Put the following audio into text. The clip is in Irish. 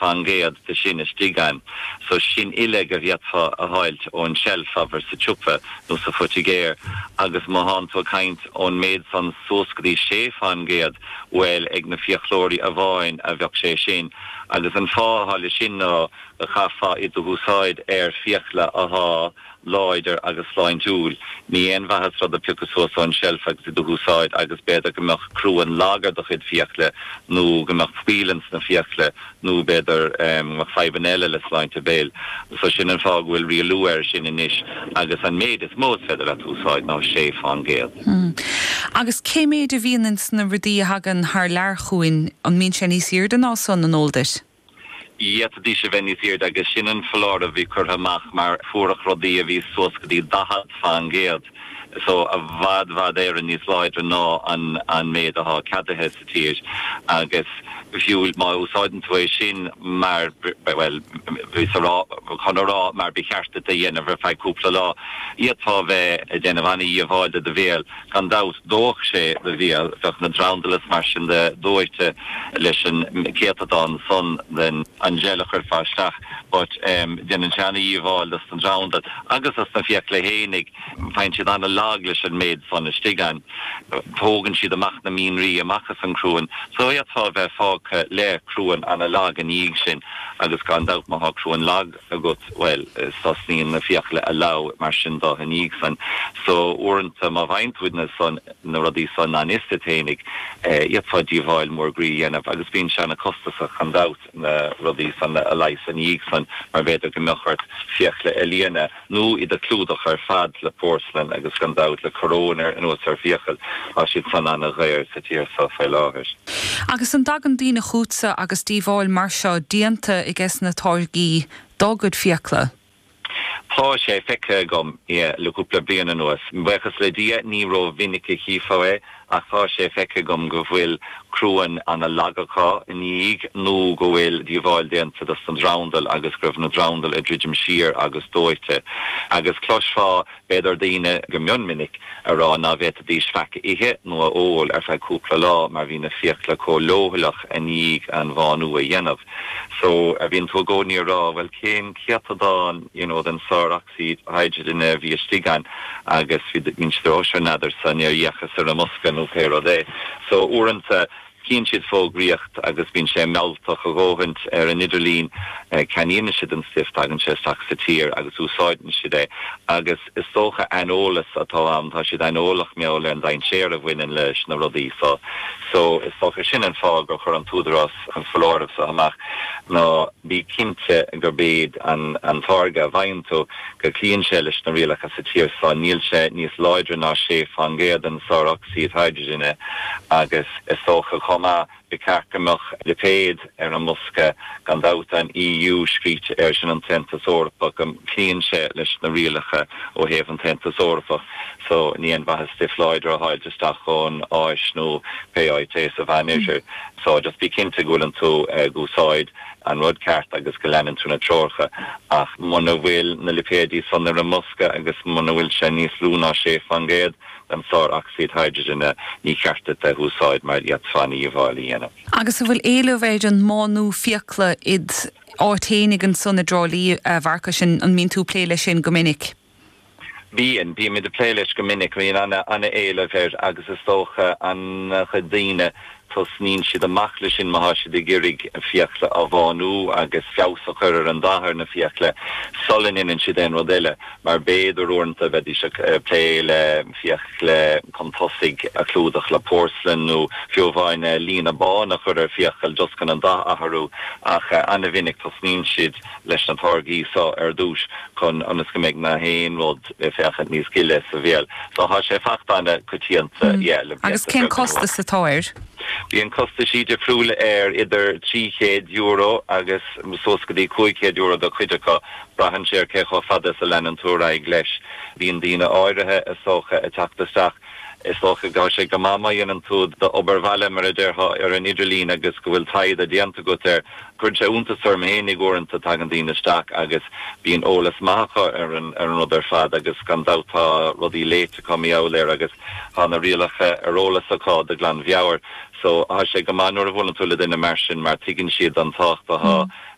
Fán gcéad de sin istigh ann. So sin uile go bhféadfá a fháilt ón tseilf, abair, sa tsiopa nó sa phoitigéir. Agus má thánn tú ag caint ón méid san suas go dtí 6 fán gcéad, bhuel, ag na fiaclóirí amháin a bheadh sé sin. Agus an fáth athá le sin ná go chaithfeá iad a húsáid ar fiacla athá láidir agus sláintiúil. Ní aon mhaitheas rud a piocadh suas ón tseilf agus iad a húsáid agus b'fhéidir go mbeadh cruan lag ar do chuid fiacla nó go mbeadh fuíoll ins na fiacla nó b'fhéidir go mbeadh fadhbanna eile le sláinte béil. So sin an fáth go bhfuil rialú air sin anois agus an méid is mó is féidir leat a úsáid ná 6%. Agus cé méid a bhíonn ins na rudaí a thagann thar lear chugainn, an mbíonn sé níos airde ná san, an eol duit? D'fhéadfaidís a bheith níos airde agus sin an foláireamh a bhí curtha amach mar fuaireadh rudaí a bhí suas go dtí 40% so i bhfad bhfad Éireann níos láidre ná an an méid athá ceadaithe sa tír agus fiú má úsáideann tú é sin mar bhuel bhíos a rá chun a rá mar ba cheart duit a dhéanamh ar feadh cúpla lá d'fhéadfá a bheith ag déanamh ana-dhíobháil do do bhéal Gan dabht, dófadh sé do bhéal, bheadh na drandail is mar sin de dóite leis an céatadán san den an gel a chuirfeá isteach but déanann sé ana-dhíobháil dos na drandail agus dos na fiacla fhéinig, faigheann siad ana-lag leis an méid san istigh ann. Tógann siad amach na mianraí amach as an cruan so d'fhéadfá a bheith fágtha le cruan ana-lag ina dhiaidh sin agus gan dabht má thá cruan lag agat, bhuel, tosnaíonn na fiacla a leá mar sin de ina dhiaidh san. So, uaireanta, má bhfaigheann tú na san, na rudaí san gan fhios duit fhéinig, d'fhéadfá díobháil mór groí a dhéanamh agus bíonn sé ana-costasach gan dabht na rudaí san a leigheas ina dhiaidh san mar b'fhéidir go mbeadh ort fiacla a líonadh nó iad a clúdach ar fad le porcelain agus gan dabht le coróin ar anuas ar fiacail, tá siad san ana-dhaor sa tír so fé láthair. Agus an dtagann daoine chughatsa agus díobháil mar seo déanta aige na táirgí dá gcuid fiacla? Tá sé feicthe agam, yeah, le cúpla bliain anuas. Buíochas le Dia ní ró-mhinic a chífeá é ach tá sé feicthe agam go bhfuil cruan ana-lag acu ina dhiaidh nó go bhfuil díobháil déanta dos na drandail agus go raibh na drandail ag druidim siar agus dóite. Agus cloisfeá b'fhéidir daoine go mion minic a rá ná bhféadfaidís faic a ithe nó a ól ar feadh cúpla lá mar bhí na fiacla chomh leochaileach i ndiaidh an bhánú a dhéanamh. So, bíonn tú i gcónaí a rá, bhuel cén céatadán you know den sár-ocsaíd hidrigine a bhí istigh ann agus bhí, bíonn siad a rá sure n'fheadarsa, níor fhéachas ar an mbosca nó pé rud é. So, uaireanta, Chíonn siad fógraíocht agus bíonn sé mealltach a dhóthaint ar an idirlíon. Ceannaíonn siad an stuif, tagann sé isteach sa tír agus úsáideann siad é. Agus is dócha aineolas atá ann, tá siad aineolach mar gheall ar an dainséar a bhaineann leis na rudaí so. So is dócha sin an fáth gur chuir an t-údarás an foláireamh so amach, ná bí cinnte gurb é an táirge a bhfaigheann tú, go gcloíonn sé leis na rialacha sa tír so. Níl sé níos láidre ná 6% den sár-ocsaíd hidrigine agus is dócha chomh maith ba cheart go mbeadh lipéad ar an mbosca, gan dabht an EU scríte air, sin an tAontas Eorpach, go gcloíonn sé leis na rialacha ó thaobh an tAontas Eorpach. So ní aon mhaitheas stuif láidir a fháilt isteach ón Áis nó pé áit é sa Mheánoirthear. So just bí cinnte go bhfuileann tú ag úsáid an rud ceart agus go leanann tú na treoracha. Ach muna bhfuil na lipéidí san ar an mbosca agus muna bhfuil sé níos lú ná 6%, den sár-ocsaíd hidrigine, ní ceart duit é a úsáid mar d'fhéadfá ana-dhíobháil a dhéanamh. Agus an bhfuil éileamh ar an mbánú fiacla id áit fhéinig ansan i dTrá Lí, a Mharcais, an mbíonn tú ag plé leis sin go minic? Bíonn, bímid ag plé leis go minic, bíonn ana-éileamh air agus is dócha an-chuid daoine Tosnaíonn siad amach leis sin má thá siad ag iarraidh fiacla a bhánú agus feabhas a chur ar an dath ar na fiacla sula ndéanann siad aon rud eile mar b'fhéidir uaireanta bheidís ag plé le fiacla chun tosaigh a chlúdach le porcelain nó fiú amháin líne bán a chur ar fiacail just chun an dath a athrú ach ana-mhinic tosnaíonn siad leis na táirgí so ar dtús chun ionas go mbeidh na haon rud ag féachaint níos gile sa bhéal. So thá sé fachta ana-coitianta, yeah, le blianta Agus cén beaga anuas. costas atá air? Bíonn costaisí difriúla air, idir €300 agus suas go dtí €500 do chuid acu. Braitheann sé ar cé chomh fada is a leanann tú ar aghaidh leis. Bíonn daoine áirithe, is dócha, ag teacht isteach. Is dócha go tá sé go maith má dhéanann tú d'obair bhaile, mar a déarfá, ar an idirlíon agus go bhfuil taighde déanta agat air. Cuireann sé iontas orm fhéinig uaireanta, tagann daoine isteach agus bíonn eolas maith acu ar an ar an rud ar fad agus gan dabht tá rudaí léite acu mar gheall air agus tá na rialacha ar eolas acu de ghlanmheabhair. So tá sé go maith nuair a bhuaileann tú le duine mar sin mar tuigeann siad an tábhacht atá.